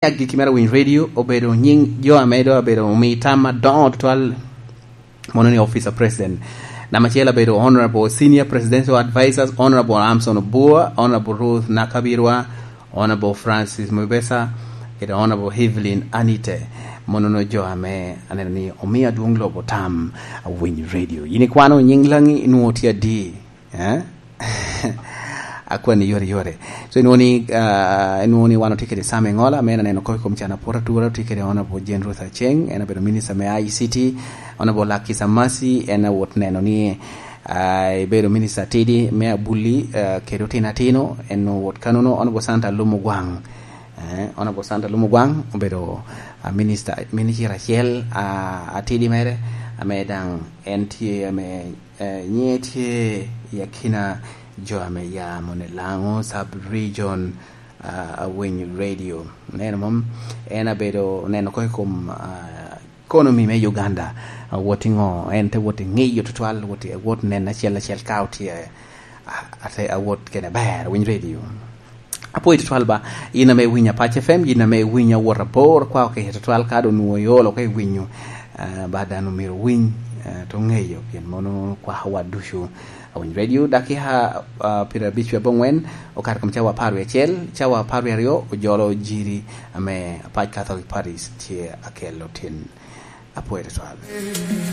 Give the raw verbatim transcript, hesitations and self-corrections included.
Agikki mere Winy Radio obedo nyiŋ jo ame doŋ abedo omi tam adoŋo tutwal, mono ni Office of President. Namba acel abedo Honorable Senior Presidential Advisors, Honorable Amson Obua, Honorable Ruth Nakabirwa, Honorable Francis Mubesa, kede Honorable Evelyn Anite. Mono no jo ame aneno ni omi adwoŋ lobo tam a Winy Radio. Yin ikwano nyiŋ laŋi, inwoŋo tye adi? Eh? Akwani yore yore. So, inwoŋo ni, ah, inwoŋo ni wan otye kede Sam Engola, ame en aneno koko i kom can apwot atura, otye kede Honorable Jane Ruth Aceng, en abedo minister me I C T, Honorable Lucky Samasi, en awot neno ni, ah, ebedo minister atidi me abuli, ah, kede otino atino, en owot kanono, Honorable Santa Lumugwang. Eh, Honorable Santa Lumugwang obedo, ah, minister, minister acel, ah, atidi mere, ame daŋ en tye ame eh, nyiŋe tye i akina jo ame ya moni Laŋo Sub Region, ah, a Winy Radio. Neno mom, en abedo neno ko i kom, ah, economy me Uganda. Ah, wot i ŋo, en te wot i ŋiyo tutwal, wot i, wot neno acel acel ka otye, ah, ate awot kene ber, Winy Radio. Apwoyo tutwal ba, in ame iwinyo Apac F M, in ame iwinyo awot abor, kwa okece tutwal ka doŋ onwoŋo iolo ka iwinyo, ah, ba dano myero owiny, ah, to ŋeyo, pien mono kwako wa ducu. Awiny Radio, dakika, ah, pyerabic wie abongwen, okato kom cawa apar wie acel, cawa apar wie aryo, ojolo jiri ame Apac Catholic Parish tye akelo tin. Apwoyo tutwal.